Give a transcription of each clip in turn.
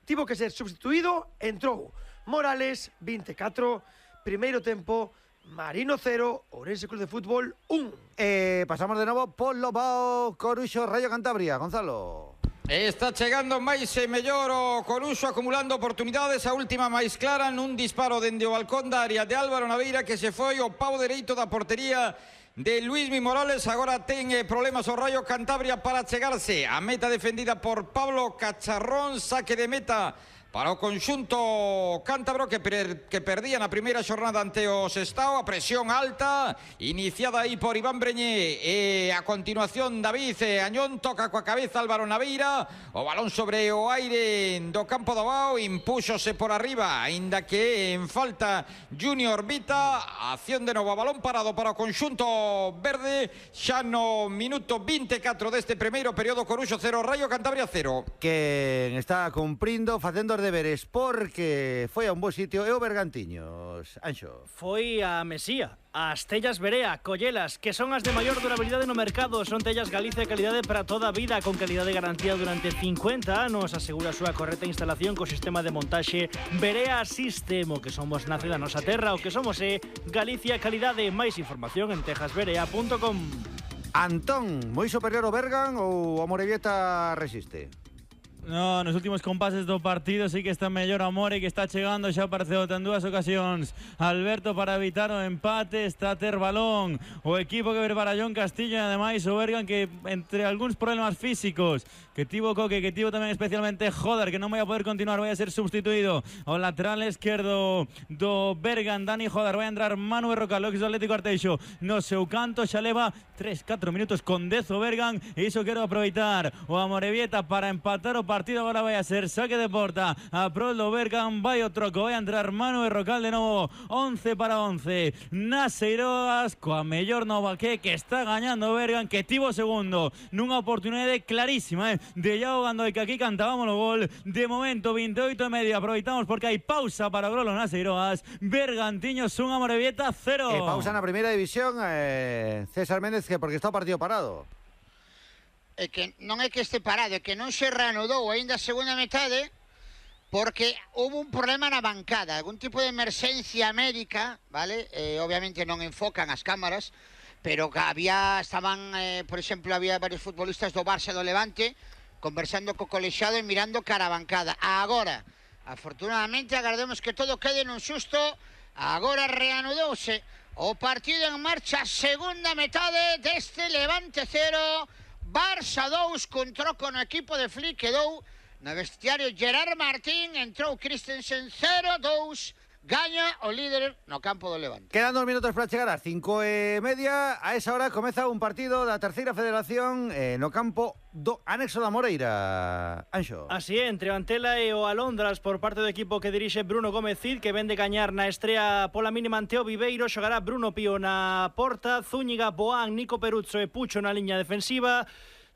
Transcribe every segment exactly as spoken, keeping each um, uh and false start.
tivo que ser substituído, entrou Morales, vinte e catro, primeiro tempo, Marino cero, Ourense Club de Fútbol un. Eh, pasamos de novo polo Bao Coruxo Rayo Cantabria, Gonzalo. Está chegando máis e mellor o Coruxo, acumulando oportunidades. A última máis clara nun disparo dende o balcón da área de Álvaro Naveira, que se foi o pau dereito da portería de Luismi Morales. Agora ten eh, problemas o Rayo Cantabria para chegarse a meta defendida por Pablo Cacharrón. Saque de meta para o conxunto cántabro que, per, que perdía na primeira xornada ante o Sestao. A presión alta iniciada aí por Iván Breñé, e a continuación David e Añón toca coa cabeza Álvaro Naveira, o balón sobre o aire do campo do Bao, impúxose por arriba, aínda que en falta Junior Vita. Acción de novo, balón parado para o conxunto verde, xa no minuto vinte e catro deste primeiro período. Coruxo cero, Rayo Cantabria cero. Que está cumprindo, facendo deberes, porque foi a un bo sitio e o Bergantiños, Anxo. Foi a Mesía, as tellas Berea, Collelas, que son as de maior durabilidade no mercado. Son tellas Galicia de calidade para toda a vida, con calidade de garantía durante cincuenta anos. Asegura a súa correcta instalación co sistema de montaxe Berea System. O que somos nace da nosa terra, o que somos é Galicia calidade. Máis información en tejas berea punto com. Antón, moi superior o Bergan ou a Morevieta resiste? No, nos últimos compases do partido sí que está mellor a More, que está chegando, xa apareceu en dúas ocasións Alberto para evitar o empate. Está a ter balón o equipo que ver para John Castillo, e ademais o Bergan, que entre algúns problemas físicos que tivo Coque, que tivo tamén especialmente Joder, que non vai a poder continuar, vai a ser substituído o lateral esquerdo do Bergan, Dani Joder. Vai a entrar Manu Berrocal, o ex do Atlético Arteixo, no seu canto. Xa leva tres catro minutos con dez o Bergan, e iso quero aproveitar o Amorebieta para empatar o partido. Agora vai a ser saque de porta a prol do Bergan. Vai o troco, vai a entrar Manu Berrocal de novo. Once para once nas Eiroas, coa mellor nova que que está gañando o Bergan, que tivo segundo nunha oportunidade clarísima eh, de Iago Gandoi, que aquí cantábamos o gol. De momento vinte e oito e medio, aproveitamos porque hai pausa para o Grolo nas Eiroas. Bergantiños un, Amorebieta cero. E pausa na primeira división, eh, César Méndez, que porque está o partido parado. É que non é que este parado, é que non se reanudou aínda a segunda metade, porque houve un problema na bancada, algún tipo de emerxencia médica, vale? Eh, obviamente non enfocan as cámaras, pero que había, estaban, eh, por exemplo, había varios futbolistas do Barça e do Levante conversando co colexiado e mirando cara a bancada. Agora, afortunadamente, agardemos que todo quede nun susto. Agora reanudouse o partido en marcha, segunda metade deste Levante cero, Barça dous, con troco no equipo de Flick, quedou no vestiario Gerard Martín, entrou Christensen cero dous, gaña o líder no campo do Levante. Quedan dos minutos para chegar ás cinco e media. A esa hora comeza un partido da terceira federación eh, no campo do anexo da Moreira, Anxo. Así é, entre o Antela e o Alondras por parte do equipo que dirixe Bruno Gómez Cid, que ven de gañar na estrea pola mínima ante o Viveiro. Xogará Bruno Pío na porta, Zúñiga, Boán, Nico Peruzzo e Pucho na liña defensiva.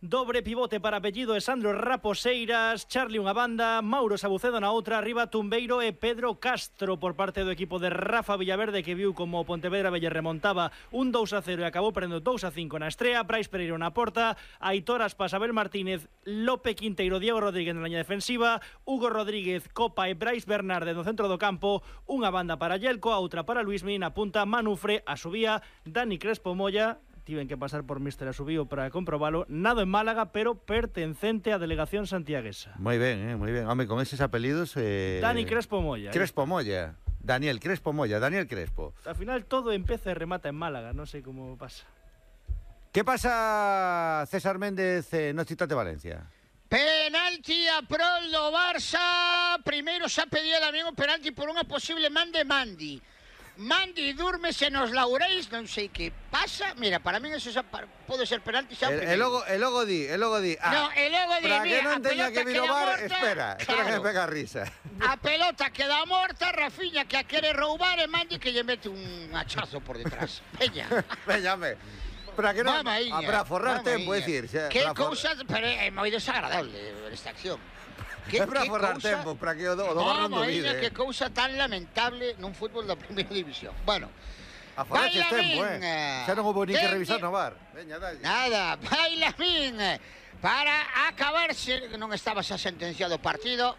Dobre pivote para apellido de Sandro Raposeiras, Charlie unha banda, Mauro Sabucedo na outra, arriba Tumbeiro e Pedro Castro por parte do equipo de Rafa Villaverde, que viu como o Pontevedra Belle remontaba un dous a cero e acabou perdendo dous a cinco na estrea. Brais Pereiro na porta, Aitor Aspas, Abel Martínez, Lope Quinteiro, Diego Rodríguez na liña defensiva, Hugo Rodríguez, Copa e Brais Bernarde no centro do campo, unha banda para Yelko, a outra para Luismi, na punta Manufre, a subía Dani Crespo Molla. Tiven que pasar por mister Asubío para comprobalo. Nado en Málaga, pero pertencente á delegación santiaguesa. Moi ben, eh, moi ben. Home, con eses apelidos... Eh... Dani Crespo Molla. Crespo Molla. Daniel Crespo Molla. Daniel Crespo. Al final todo empeza e remata en Málaga. Non sei como pasa. Que pasa, César Méndez, eh, no Citate Valencia? Penalti a prol do Barça. Primeiro xa pedía tamén o penalti por unha posible man de Mandi. Mandi dúrmese nos laureis, non sei que pasa. Mira, para min eso xa pode ser penalti xa. El, el logo, el logo di, el logo di. Ah, no, el logo di, para mira, que non teña que vir o bar, morta, espera, espera claro. que me pega risa. A pelota queda morta, Rafiña que a quere roubar e Mandi que lle mete un hachazo por detrás. Veña. Veñame. Para que non, Mamaíña, para forrar mamaíña. tempo, decir, xa, que for... cousa, pero é moi desagradable esta acción. Que, é para forrar cousa... tempo, para que o do, o do barro non vide. Que cousa tan lamentable nun fútbol da primeira división. Bueno, a forrar tempo, eh. Xa non houve ni que revisar no bar. Veña, dalle. Nada, Bailamín para acabarse, non estaba xa sentenciado o partido.